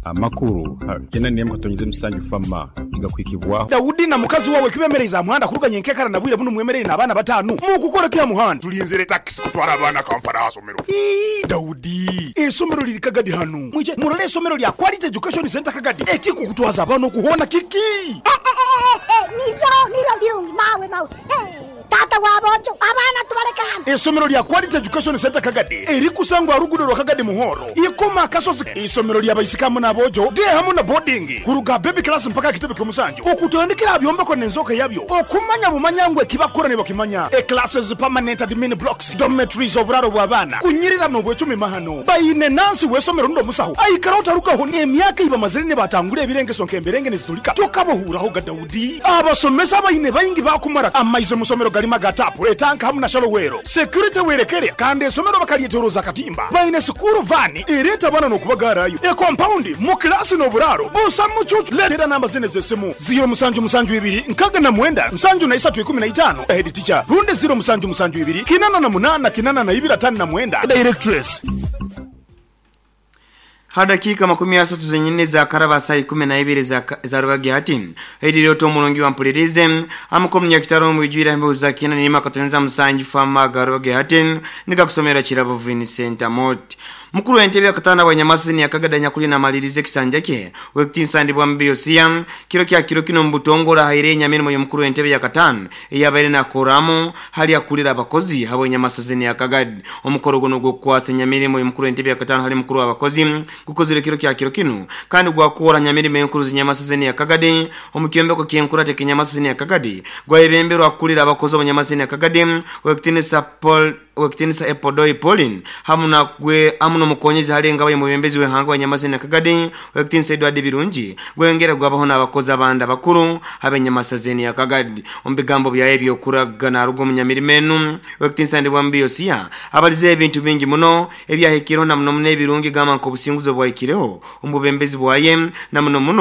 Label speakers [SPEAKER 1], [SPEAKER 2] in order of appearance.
[SPEAKER 1] Amakuru ha 87 Fama nigakuhikibwaho.
[SPEAKER 2] Daudi na mukazi wawe kibemereize aha muhanda kuruga nyenkekara na bwire bunu mwemereire n'abaana batanu. Mukukora ki aha muhanda?
[SPEAKER 3] Tulinzire takisi kutwara abaana Kampala aha somero.
[SPEAKER 2] Ii, Daudi, eisomero liri Kagadi hanu. Mwije murole eisomero lya Quality Education Centre Kagadi. Ekikukutwaza abaana okuhoona kiki?
[SPEAKER 4] Niryo, niryo lirungi mawe, mawe. Taata w'aboojo, abaana tubaleke hanu.
[SPEAKER 2] Eisomero lya Quality Education Centre Kagadi erikusangwa aha ruguudo rwa Kagadi Muhoro, Ikoma Akasozi. Eisomero lya baisiki hamu n'aboojo, day hamu na boarding, kuruga aha baby class mpaka aha kitebe ky'omusanju, okutandikira aha byombeko n'enzooka yabyo, okumanya bumanya ngu eki bakukora nibakimanya. E Classes, permanent admin blocks, dormitories, oburaaro bw'abaana, kunyirira n'obwecumi mahano. Baine nansi w'eisomero rundi omusaho aikaraho tarugaho emyaka ei bamazire nibatangura ebirengeso nk'emberenge nizitulika tokabahuurahoga Daudi. Abasomesa abaine baingi baakumara amaizi omu somero garimu aga taapu, etanka hamu na shallow well. Security werekere kandi esomero bakaryetoroza akatimba. Baine sikuuru vaani ereeta abaana n'okubagaarayo. Ekompaundi mu kilaasi n'oburaaro busa mucuucu. Leetera namba zinu ez'esimu, ziiro musanju musanju ibiri nkaga na mwenda nsanju na isatu ikumi na itaano, Head teacher, rundi ziiro musanju musanju ibiri kinana na munaana kinana na ibiri atano na mwenda, Directress.
[SPEAKER 5] Ha dakiika 30 zenyini ezakaraba saaha 12 za rubagi hati erire oti omurungi wampulirize amakuru munyakitaro omubwijwire aha mbeho za kina nirima akatoneza musanju fama aga rubagi hati nigakusomera Kirabo Vincent Amot. Mukuru w'entebe yakataano abwanyamasini yakagada nyakuli namaliriza ekisanja kye Owekitiinisa Ndibwambi Yosia kiro kya kiro kinu omubutongore ahaire enyamirimo y'omukuru w'entebe yakataano eyabaire nakoramu hali akurira abakozi habw'enyamasazini ya Kagadi. Omukoro gunu ogw'okukwasa enyamirimo y'omukuru w'entebe yakataano hali mukuru w'abakozi gukozirwe kiro kya kiro kinu kandi gwakora nyamirimo enkuru z'enyamasazini ya Kagadi omu kyombeko ky'enkurata eky'enyamasazini ya Kagadi gwayebemberwa akurira abakozi ab'enyamasazini ya Kagadi Owekitiinisa Paul Owekitiinisa Epodoi Pauline hamu na gwe hamu n'omukonyezi hali engaba y'omwebembezi w'ihanga wa Nyamasini na Kagadi Owekitiinisa Edward Birungi gweyongera gwabaho n'abakozi abandi abakuru ab'enyamasazeni ya Kagadi. Omu bigambo byaye eby'okuraga naruga omu nyamirimo enu Owekitiinisa Ndibwambi Yosia abalizeho ebintu bingi muno ebyahikireho na muno muno ebirungi gamba nk'obusinguzi obwahikireho omu bubembezi bwaye na muno muno.